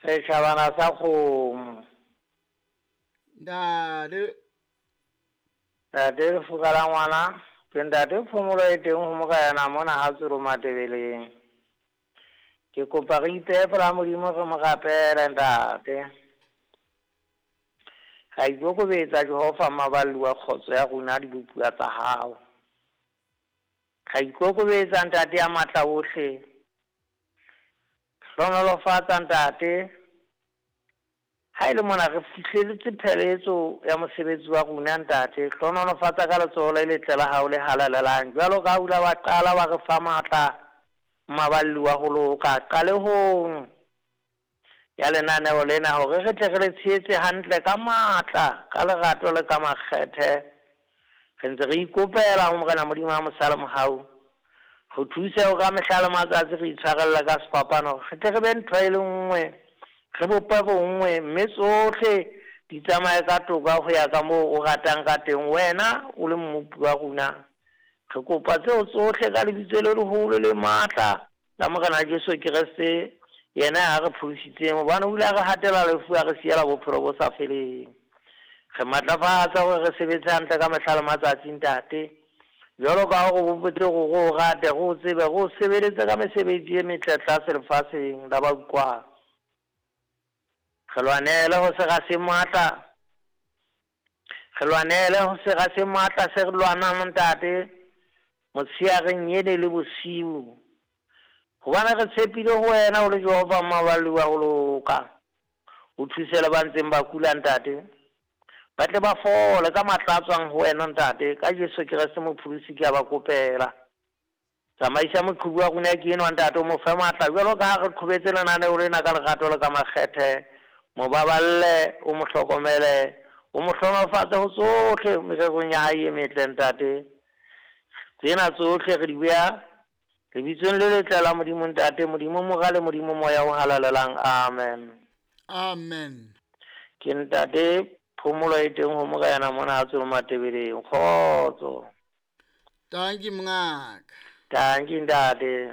Setjhabana sa kgomo. Ntate. Ntate lefuka la ngwana, ke ntate phomolo e teng ho Morena mona ha Tsolo Matebeleng. Ke kopa re ipehe pela Modimo re mo rapele ntate. Ra ikokobetsa Jehova maballi wa kgotso ya rona dibopuwa tsa hao. Ra ikokobetsa ntate ya matla ohle. Hlohonolofatsa ntate. Ha e le mona re fihlelletse pheletso ya mosebetsi wa rona ntate. Hlohonolofatsa ka letsoho le letle la hao le halalelang. Jwalo ka ha o ile wa qala wa re fa matla maballi wa ho loka qalehong ya lenaneo lena hore re tle re le tshehetse hantle ka matla, ka lerato le ka makgethe. Re ntse re ikopela ho Morena Modimo wa mosa le mohau. Re thuse ho ka mehla le matsatsi re itshwarelle ka sefapano, re tle re be ntho e le nngwe, re bope bonngwe, mme tsohle di tsamaye ka toka ho ya ka moo o ratang ka teng, wena o le mmopi wa rona. Re kopa tseo tsohle ka lebitso le leholo le matla la Morena Jesu Kreste, yena ya re pholositseng, hobane o ile a re hatela lefu, a re siela bophelo bo sa feleng. Re matlafatsa hore re sebetse hantle ka mehla le matsatsi, ntate. Jwalo ka ha o re bopetse hore re o rate, re o tsebe, re o sebeletse ka mesebetsi e metle tlase lefatsheng la ba utlwang. Re lwanele ho sera se matla, re lwanele ho sera se matla se re lwanang ntate, motsheareng ene le bosiu. Hobane re tshepile ho wena o le Jehova maballi wa ho loka. O thuse le ba ntseng ba kula ntate, ba tle ba fole ka matla a tswang ho wena ntate. Ka Jesu Kreste mopholosi ke a ba kopela. Tsamaisa moqhubu wa rona ke enwa ntate, o mo fe matla jwalo ka ha re qhobetse lenaneo lena ka lerato le ka makgethe. Mo baballe, o mo hlokomele, o mo hlohonolofatse ho tsohle mererong ya hae e metle ntate. Tsena tsohle re di beha lebitsong le letle la Modimo ntate, Modimo Mora le Modimo Moya o halalelang. Amen. Amen. Ke ntate phomolo e teng ho Morena mona ha Tsolo Matebeleng. Kgotso. Tanki mongaka. Tanki ntate.